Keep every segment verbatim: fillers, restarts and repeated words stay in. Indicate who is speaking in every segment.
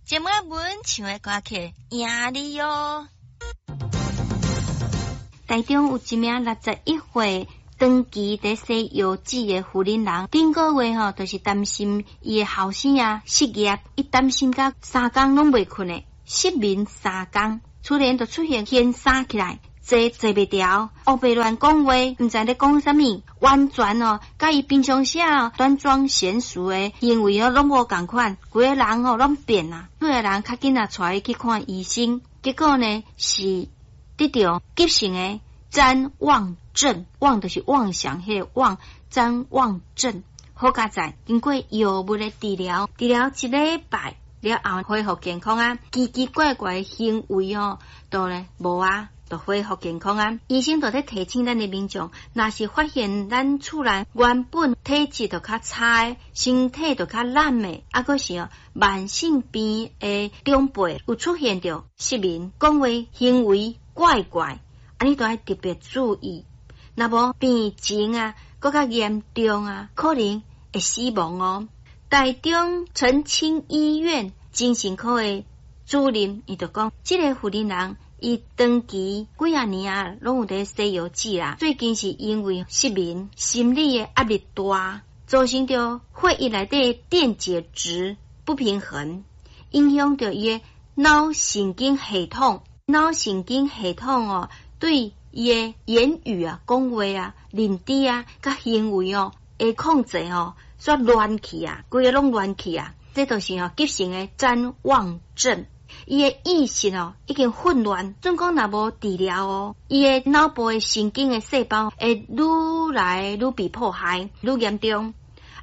Speaker 1: 這擺阮唱的歌曲《贏你喲》。
Speaker 2: 台中有一名六十一歲長期佇洗腰子的婦人人，頂個月吼，就是擔心伊的後生啊失業，伊擔心甲三工攏袂睏的，失眠三工，突然就出現掀衫起來，坐坐袂牢，烏白亂講話，毋知咧講啥物，完全哦，佮伊平常時啊端莊賢淑的行為哦，攏無仝款，規个人哦攏變啊，厝的人較緊啊帶伊去看醫生，結果呢是得著急性的譫妄症，妄就是妄想，彼个妄，譫妄症。好佳哉，經過藥物的治療，治療一禮拜了後恢復健康啊，奇奇怪怪的行為哦，都咧無啊，就恢復健康啊。醫生就咧提醒咱的民眾，若是發現咱厝內原本體質就較差，身體就較懶的，啊，閣是哦慢性病的長輩有出現著失眠、講話行為怪怪，按呢都愛特別注意。若無病情啊，閣較嚴重啊，可能會死亡哦。台中澄清醫院精神科的主任，伊就講，這个婦人人伊長期幾仔年啊，攏有佇洗腰子啦。最近是因為失眠、心理的壓力大，造成著血液內底電解質不平衡，影響著伊的腦神經系統。腦神經系統哦，對伊的言語啊、講話啊、認知啊、佮行為哦的控制哦，煞亂去啊，規个攏亂去啊。這就是哦急性的譫妄症，伊的意識哦已經混亂。準講若無治療哦，伊的腦部的神經的細胞會愈來愈被破壞，愈嚴重。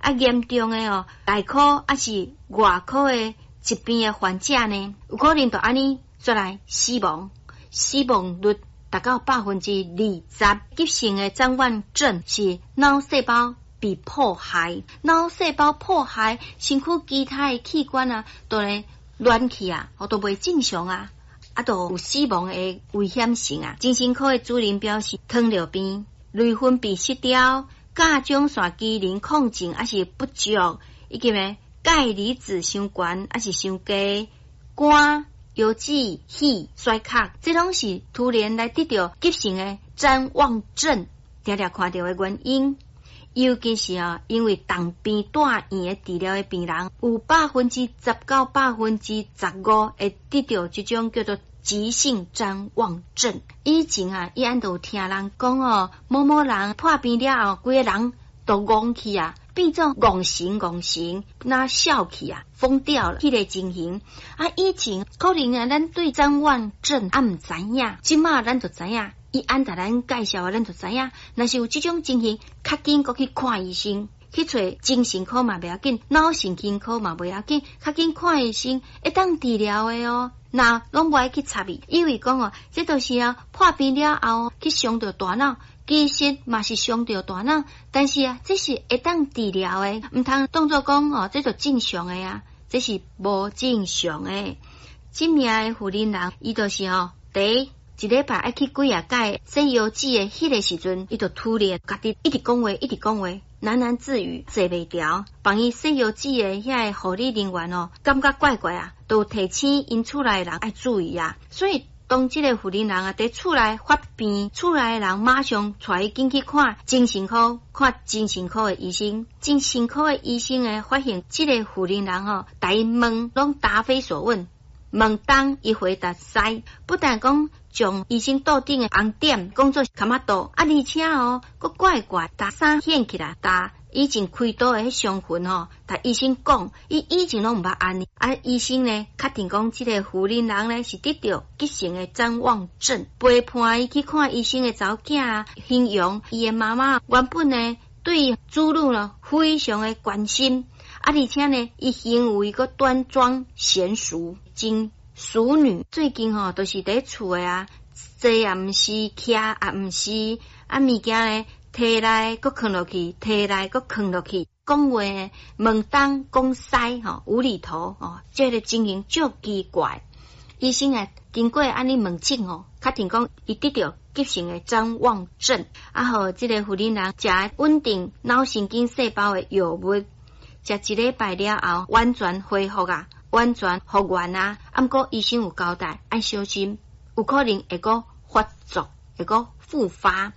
Speaker 2: 啊，嚴重的哦，內科抑是外科的疾病的患者呢，有可能就按呢煞來死亡，死亡率達到百分之二十。急性的譫妄症是腦細胞被破壞，腦細胞破壞，身軀其他的器官啊，都會亂去啊，都袂正常啊，啊，都有死亡的危險性啊。精神科的主任表示，糖尿病、內分泌失調、甲狀腺機能亢進抑是不足，以及呢鈣離子傷懸抑是傷低，肝、腰子、肺衰竭，這攏是突然來得著急性的譫妄症，常常看著的原因。尤其是啊，因為重病住院的治療的病人，有百分之十到百分之十五會得著這種叫做急性譫妄症。以前啊，伊按都有聽人講哦，某某人破病了後，規个人都戇去啊，變做戇神戇神，若痟去啊，瘋掉了，彼个情形。啊，以前可能啊，咱對譫妄症猶毋知影，這馬咱就知影。伊按共咱介紹，咱就知影。若是有這種情形，較緊閣去看醫生，去揣精神科嘛袂要緊，腦神經科嘛袂要緊，較緊看醫生會當治療的哦。若攏無愛去插伊，以為講哦，這就是啊破病了後去傷著大腦，其實嘛是傷著大腦，但是啊，這是會當治療的，毋通當做講哦，這就正常的啊，這是無正常的。這名的婦人人，伊就是哦，第一。一禮拜愛去幾仔擺洗腰子的彼个時陣，伊就突然家己一直講話，一直講話，喃喃自語，坐袂牢。幫伊洗腰子的遐个護理人員哦，感覺怪怪啊，都提醒𪜶厝內的人愛注意啊。所以當這個婦人人啊，佇厝內發病，厝內的人馬上帶伊緊去看精神科，看精神科的醫生。精神科的醫生呢，發現這個婦人人吼，共伊問攏答非所問，問東伊回答西，不但講將醫生桌頂的紅點講做卡瑪多，啊，而且哦，閣怪怪，共衫掀起來，共以前開刀的彼傷痕吼，共醫生講，伊以前攏毋捌按呢，啊，醫生呢確定講，這个婦人人呢是得著急性的譫妄症，陪伴伊去看醫生的查某囝啊，形容伊的媽媽原本呢對子女呢非常的關心，啊，而且呢，伊行為閣端莊賢淑，真淑女。最近吼，就是佇厝的啊，坐也毋是，徛也毋是，啊，物件呢，提來閣囥落去，提來閣囥落去，講話問東講西吼，無厘頭吼，這个情形足奇怪。醫生啊，經過按呢問診吼，確定講伊得著急性的譫妄症，啊，予這个婦人人食穩定腦神經細胞的藥物，食一禮拜了後，完全恢復啊。完全復原啊。啊，毋過醫生有交代，愛小心，有可能會閣發作，會閣復發。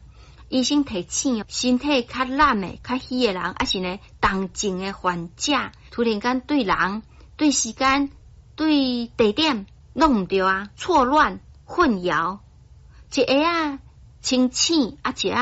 Speaker 2: 醫生提醒，身體較懶的、較虛的人，抑是呢重症的患者，突然間對人、對時間、對地點攏毋對啊，錯亂、混淆，一下仔清醒，啊一下